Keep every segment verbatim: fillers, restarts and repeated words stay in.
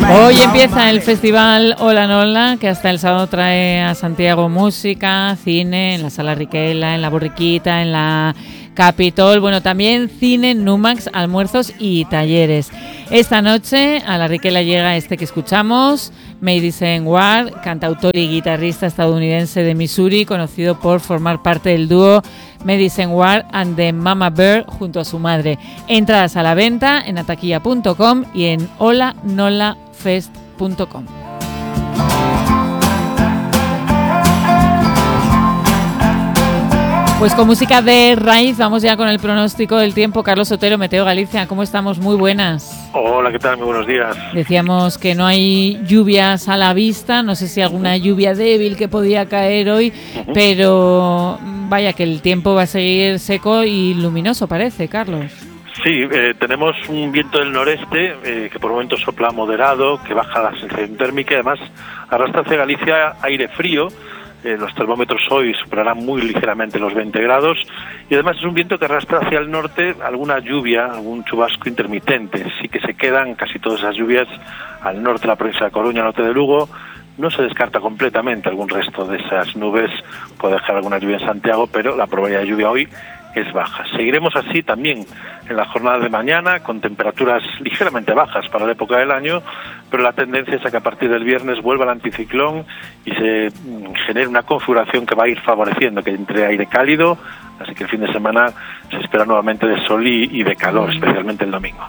Hoy empieza el festival Hola Nola, que hasta el sábado trae a Santiago música, cine, en la Sala Riquela, en la Borriquita, en la Capitol, bueno, también cine, Numax, almuerzos y talleres. Esta noche a la Riquela llega este que escuchamos, Madison Ward, cantautor y guitarrista estadounidense de Missouri, conocido por formar parte del dúo Madison Ward and the Mama Bear junto a su madre. Entradas a la venta en ataquilla punto com y en hola nola fest punto com. Pues con música de raíz vamos ya con el pronóstico del tiempo. Carlos Otero, Meteo Galicia, ¿cómo estamos? Muy buenas. Hola, ¿qué tal? Muy buenos días. Decíamos que no hay lluvias a la vista, no sé si alguna lluvia débil que podía caer hoy, uh-huh. pero vaya que el tiempo va a seguir seco y luminoso, parece, Carlos. Sí, eh, tenemos un viento del noreste eh, que por momentos sopla moderado, que baja la sensación térmica y además arrastra hacia Galicia aire frío. Eh, los termómetros hoy superarán muy ligeramente los veinte grados y además es un viento que arrastra hacia el norte alguna lluvia, algún chubasco intermitente. Sí que se quedan casi todas esas lluvias al norte de la provincia de Coruña, norte de Lugo. No se descarta completamente algún resto de esas nubes, puede dejar alguna lluvia en Santiago, pero la probabilidad de lluvia hoy es baja. Seguiremos así también en la jornada de mañana, con temperaturas ligeramente bajas para la época del año, pero la tendencia es a que a partir del viernes vuelva el anticiclón y se genere una configuración que va a ir favoreciendo, que entre aire cálido, así que el fin de semana se espera nuevamente de sol y, y de calor, especialmente el domingo.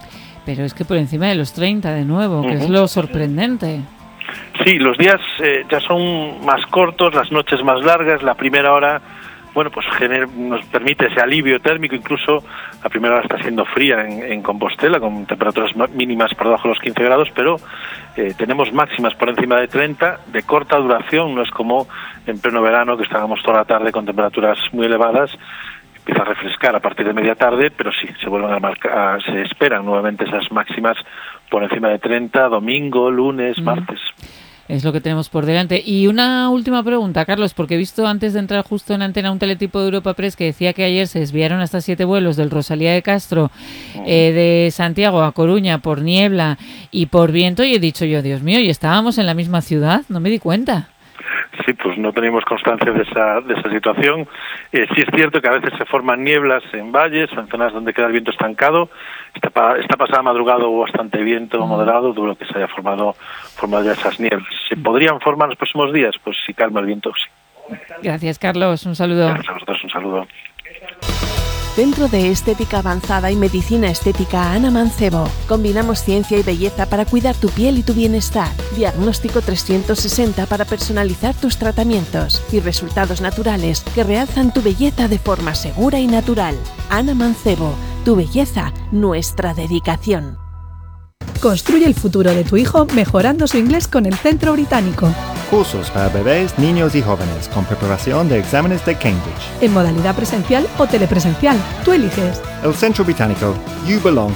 Pero es que por encima de los treinta de nuevo, que uh-huh. es lo sorprendente. Sí, los días eh, ya son más cortos, las noches más largas, la primera hora... Bueno, pues gener, nos permite ese alivio térmico, incluso la primera hora está siendo fría en, en Compostela, con temperaturas mínimas por debajo de los quince grados, pero eh, tenemos máximas por encima de treinta, de corta duración, no es como en pleno verano, que estábamos toda la tarde con temperaturas muy elevadas, empieza a refrescar a partir de media tarde, pero sí, se vuelven a marcar, se esperan nuevamente esas máximas por encima de treinta, domingo, lunes, mm. martes. Es lo que tenemos por delante. Y una última pregunta, Carlos, porque he visto antes de entrar justo en antena un teletipo de Europa Press que decía que ayer se desviaron hasta siete vuelos del Rosalía de Castro eh, de Santiago a Coruña por niebla y por viento, y he dicho yo, Dios mío, ¿y estábamos en la misma ciudad? No me di cuenta. Sí, pues no tenemos constancia de esa de esa situación. Eh, sí es cierto que a veces se forman nieblas en valles o en zonas donde queda el viento estancado. Esta, pa, esta pasada madrugada hubo bastante viento mm. moderado, duro que se haya formado, formado ya esas nieblas. ¿Se podrían formar los próximos días? Pues si calma el viento, sí. Gracias, Carlos. Un saludo. Gracias a vosotros, un saludo. Centro de Estética Avanzada y Medicina Estética Ana Mancebo. Combinamos ciencia y belleza para cuidar tu piel y tu bienestar. Diagnóstico trescientos sesenta para personalizar tus tratamientos y resultados naturales que realzan tu belleza de forma segura y natural. Ana Mancebo, tu belleza, nuestra dedicación. Construye el futuro de tu hijo mejorando su inglés con el Centro Británico. Cursos para bebés, niños y jóvenes con preparación de exámenes de Cambridge. En modalidad presencial o telepresencial. Tú eliges. El Centro Británico. You belong.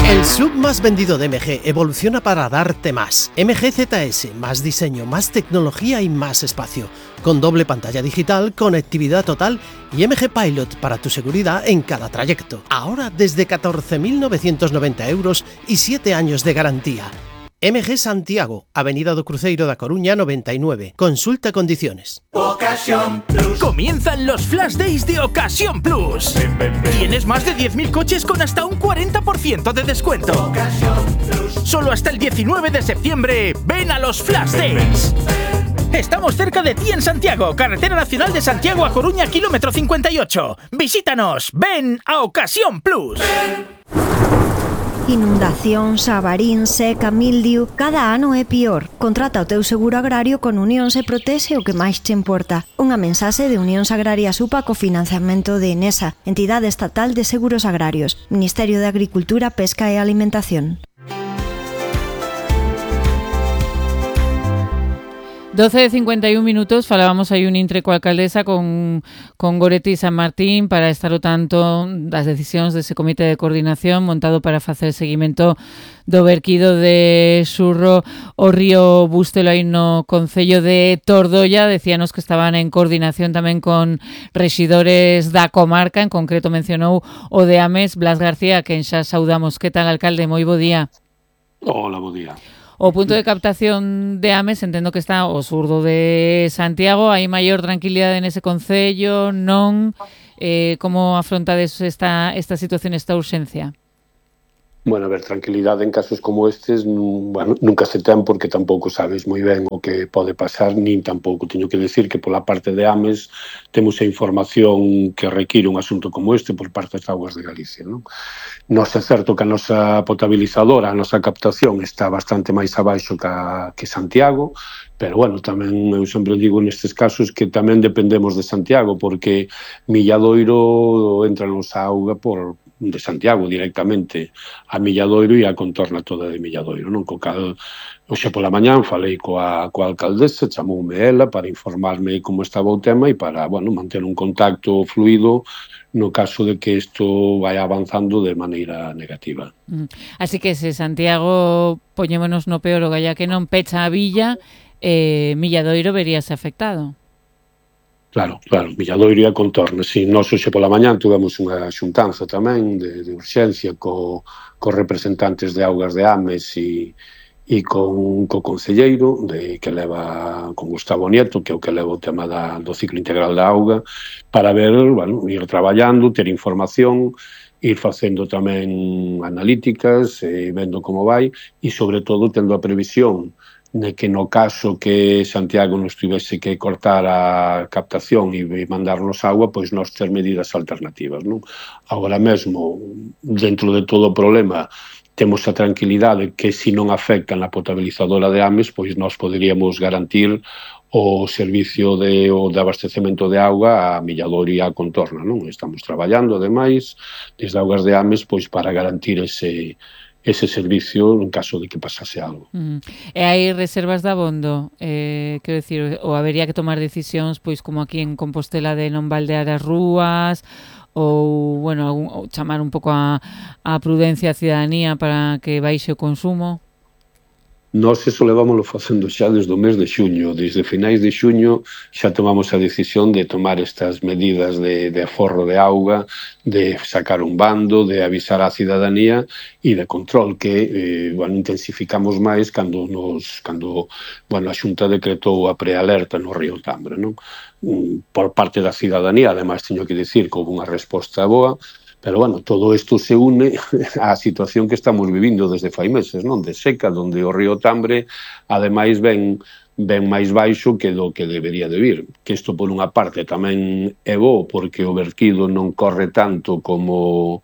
El sub más vendido de M G evoluciona para darte más. M G Z S, más diseño, más tecnología y más espacio. Con doble pantalla digital, conectividad total y M G Pilot para tu seguridad en cada trayecto. Ahora desde catorce mil novecientos noventa euros y siete años de garantía. M G Santiago, Avenida do Cruzeiro da Coruña noventa y nueve. Consulta condiciones. Ocasión Plus. Comienzan los Flash Days de Ocasión Plus. Ven, ven, ven. Tienes más de diez mil coches con hasta un cuarenta por ciento de descuento. Ocasión Plus. Solo hasta el diecinueve de septiembre. Ven a los Flash Days. Estamos cerca de ti en Santiago, Carretera Nacional de Santiago a Coruña, kilómetro cincuenta y ocho. Visítanos. Ven a Ocasión Plus. Ven. Inundacións, avarín, seca, mildiu, cada ano é pior. Contrata o teu seguro agrario con Unións e protexe o que máis te importa. Unha mensaxe de Unións Agrarias U P A co financiamento de Enesa, Entidade Estatal de Seguros Agrarios, Ministerio de Agricultura, Pesca e Alimentación. doce de cincuenta y un minutos, falábamos aí un intre coa alcaldesa con, con Goretti San Martín para estar ao tanto das decisións dese comité de coordinación montado para facer seguimento do verquido de Xurro o río Bustelo aí no concello de Tordolla. Decíanos que estaban en coordinación tamén con rexidores da comarca, en concreto mencionou o de Ames, Blas García, quen xa saudamos. Que tal, alcalde? Moi bo día. Hola, bo día. O punto de captación de Ames entendo que está ao sur de Santiago, hai maior tranquilidade nese concello, non? Eh, como afrontades esta, esta situación, esta urxencia? Bueno, a ver, tranquilidade en casos como estes, bueno, nunca se ten porque tampouco sabes moi ben o que pode pasar, nin tampouco teño que decir que pola parte de Ames temos a información que require un asunto como este por parte das Augas de Galicia, non? Nos é certo que a nosa potabilizadora, a nosa captación está bastante máis abaixo que, a, que Santiago, pero, bueno, tamén eu sempre digo nestes casos que tamén dependemos de Santiago, porque Milladoiro entra nos auga por de Santiago directamente a Milladoiro e a contorna toda de Milladoiro, non? Co cal, hoxe pola mañán falei coa, coa alcaldesa, chamoume ela para informarme como estaba o tema e para, bueno, manter un contacto fluido no caso de que isto vaya avanzando de maneira negativa. Así que se Santiago, poñémonos no peor, o galla que non pecha a villa, eh, Milladoiro veríase afectado. Claro, claro, Milladoiro e a contorna, si, nós hoxe pola mañán tivemos unha xuntanza tamén de, de urxencia co, co representantes de Augas de Ames e, e con co concelleiro de, que leva con Gustavo Nieto, que é o que leva o tema da, do ciclo integral da auga, para ver, bueno, ir traballando, ter información, ir facendo tamén analíticas, eh, vendo como vai, e sobre todo tendo a previsión de que no caso que Santiago nos tivese que cortar a captación e mandarnos agua, pois nós ter medidas alternativas, non? Agora mesmo, dentro de todo o problema, temos a tranquilidade que se non afecta na potabilizadora de Ames, pois nós poderíamos garantir o servicio de, o de abastecemento de auga a Milladoiro e a contorna, non? Estamos traballando, ademais, desde Augas de Ames, pois para garantir ese ese servicio en caso de que pasase algo. Uh -huh. E hai reservas de abondo, eh, quero dicir, ou habería que tomar decisións, pois como aquí en Compostela, de non baldear as rúas, ou, bueno, algún, ou chamar un pouco a, a prudencia a cidadanía para que baixe o consumo? Nós eso levámoslo facendo xa desde o mes de xuño. Desde finais de xuño xa tomamos a decisión de tomar estas medidas de, de aforro de auga, de sacar un bando, de avisar á cidadanía e de control que, eh, bueno, intensificamos máis cando, nos, cando bueno, a Xunta decretou a prealerta no río Tambre, non? Por parte da cidadanía, ademais, teño que dicir que houve unha resposta boa, pero, bueno, todo isto se une á situación que estamos vivindo desde fai meses, non? De seca, onde o río Tambre, ademais, ven, ven máis baixo que do que debería de vir. Que isto, por unha parte, tamén é bo, porque o vertido non corre tanto como,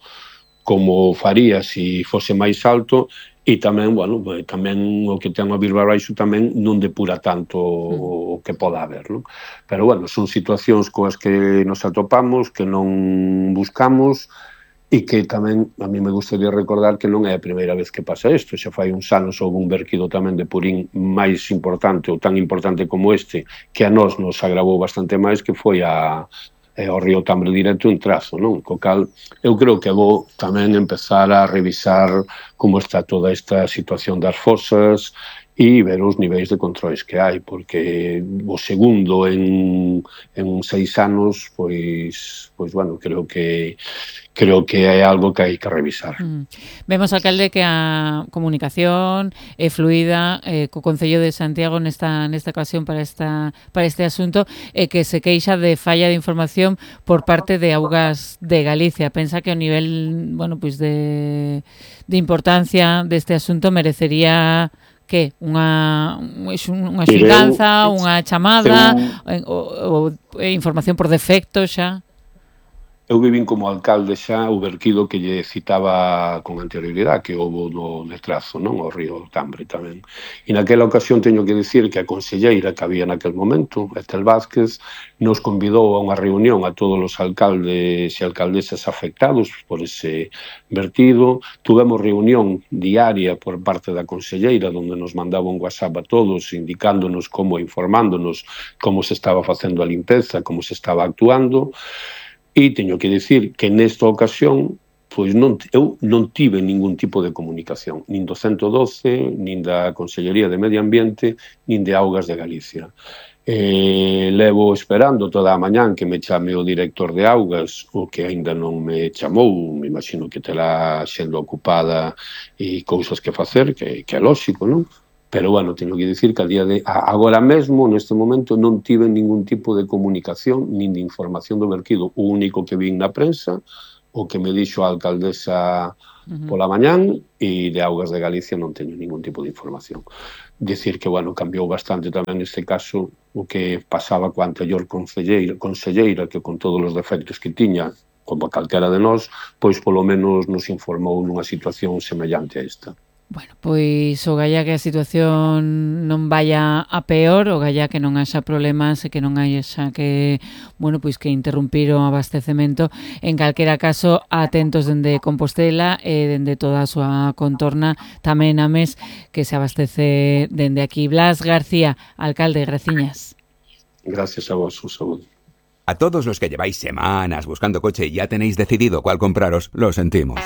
como faría se fose máis alto, e tamén, bueno, tamén o que ten a vir baixo tamén non depura tanto o que poda haber, non? Pero, bueno, son situacións coas que nos atopamos, que non buscamos, e que tamén a mí me gustaría recordar que non é a primeira vez que pasa isto. Xa fai uns anos houve un vertido tamén de purín máis importante ou tan importante como este, que a nós nos agravou bastante máis, que foi a, ao río Tambre directo en Trazo, non? Co cal eu creo que é bo tamén empezar a revisar como está toda esta situación das fosas e ver os niveis de controis que hai, porque o segundo en, en seis anos, pois, pois, bueno, creo que creo que é algo que hai que revisar. Mm. Vemos, alcalde, que a comunicación é fluida eh, co Concello de Santiago nesta nesta ocasión para esta para este asunto, e eh, que se queixa de falla de información por parte de Augas de Galicia. Pensa que o nivel, bueno, pois de de importancia deste asunto merecería que unha unha xuntanza, unha chamada, ou, ou información por defecto xa? Eu vivín como alcalde xa o vertido que lle citaba con anterioridade, que houve no de Trazo, non? O río Tambre tamén. E naquela ocasión teño que dicir que a conselleira que había naquel momento, Estel Vázquez, nos convidou a unha reunión a todos os alcaldes e alcaldesas afectados por ese vertido. Tuvemos reunión diaria por parte da conselleira, onde nos mandaba un WhatsApp a todos, indicándonos como, informándonos como se estaba facendo a limpeza, como se estaba actuando. E teño que dicir que nesta ocasión pois non, eu non tive ningún tipo de comunicación, nin do ciento doce, nin da Consellería de Medio Ambiente, nin de Augas de Galicia. Eh, levo esperando toda a mañán que me chame o director de augas, o que aínda non me chamou, me imagino que terá sendo ocupada e cousas que facer, que, que é lógico, non? Pero, bueno, teño que dicir que a día de agora mesmo, neste momento, non tive ningún tipo de comunicación nin de información do vertido. O único que vin na prensa, o que me dixo a alcaldesa uh-huh. pola mañán, e de Augas de Galicia non teño ningún tipo de información. Dicir que, bueno, cambiou bastante tamén neste caso o que pasaba coa anterior conselleira, conselleira que con todos os defectos que tiña, como calquera de nós, pois polo menos nos informou nunha situación semellante a esta. Bueno, pois o galla que a situación non vaya a peor, o galla que non haxa problemas e que non haxa que, bueno, pois que interrumpir o abastecemento. En calquera caso, atentos dende Compostela e dende toda a súa contorna, tamén a mes que se abastece dende aquí. Blas García, alcalde, graciñas. Gracias a vos, un saúdo. A todos los que lleváis semanas buscando coche y ya tenéis decidido cuál compraros, lo sentimos.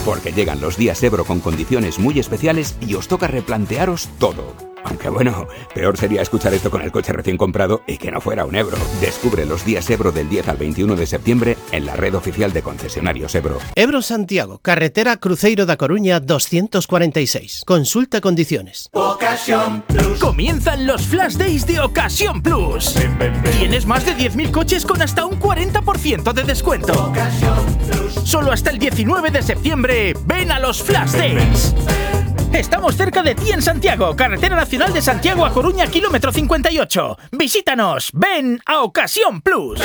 Porque llegan los días Ebro con condiciones muy especiales y os toca replantearos todo. Aunque bueno, peor sería escuchar esto con el coche recién comprado y que no fuera un Ebro. Descubre los días Ebro del diez al veintiuno de septiembre en la red oficial de concesionarios Ebro. Ebro Santiago, carretera Cruzeiro da Coruña doscientos cuarenta y seis. Consulta condiciones. Ocasión Plus. Comienzan los Flash Days de Ocasión Plus. Ven, ven, ven. Tienes más de diez mil coches con hasta un cuarenta por ciento de descuento. Ocasión Plus. Solo hasta el diecinueve de septiembre. Ven a los Flash Days. Estamos cerca de ti en Santiago, carretera nacional de Santiago a Coruña, kilómetro cincuenta y ocho. Visítanos, ven a Ocasión Plus.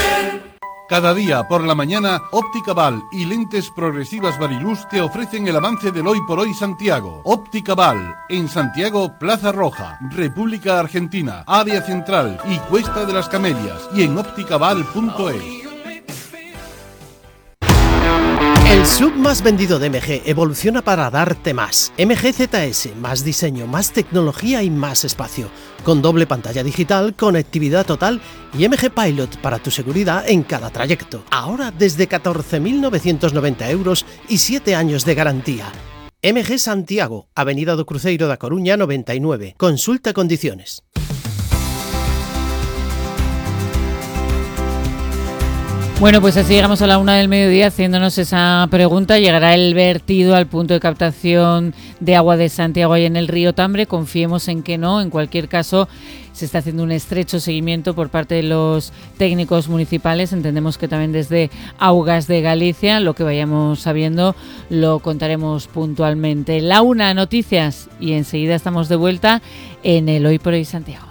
Cada día por la mañana, Óptica Val y Lentes Progresivas Variluz te ofrecen el avance del Hoy por Hoy Santiago. Óptica Val, en Santiago, Plaza Roja, República Argentina, Área Central y Cuesta de las Camelias, y en ópticaval punto es. El sub más vendido de M G evoluciona para darte más. M G Z S, más diseño, más tecnología y más espacio. Con doble pantalla digital, conectividad total y M G Pilot para tu seguridad en cada trayecto. Ahora desde catorce mil novecientos noventa euros y siete años de garantía. M G Santiago, Avenida do Cruzeiro da Coruña noventa y nueve. Consulta condiciones. Bueno, pues así llegamos a la una del mediodía haciéndonos esa pregunta. ¿Llegará el vertido al punto de captación de agua de Santiago ahí en el río Tambre? Confiemos en que no. En cualquier caso, se está haciendo un estrecho seguimiento por parte de los técnicos municipales. Entendemos que también desde Augas de Galicia. Lo que vayamos sabiendo lo contaremos puntualmente. La una, noticias, y enseguida estamos de vuelta en el Hoy por Hoy Santiago.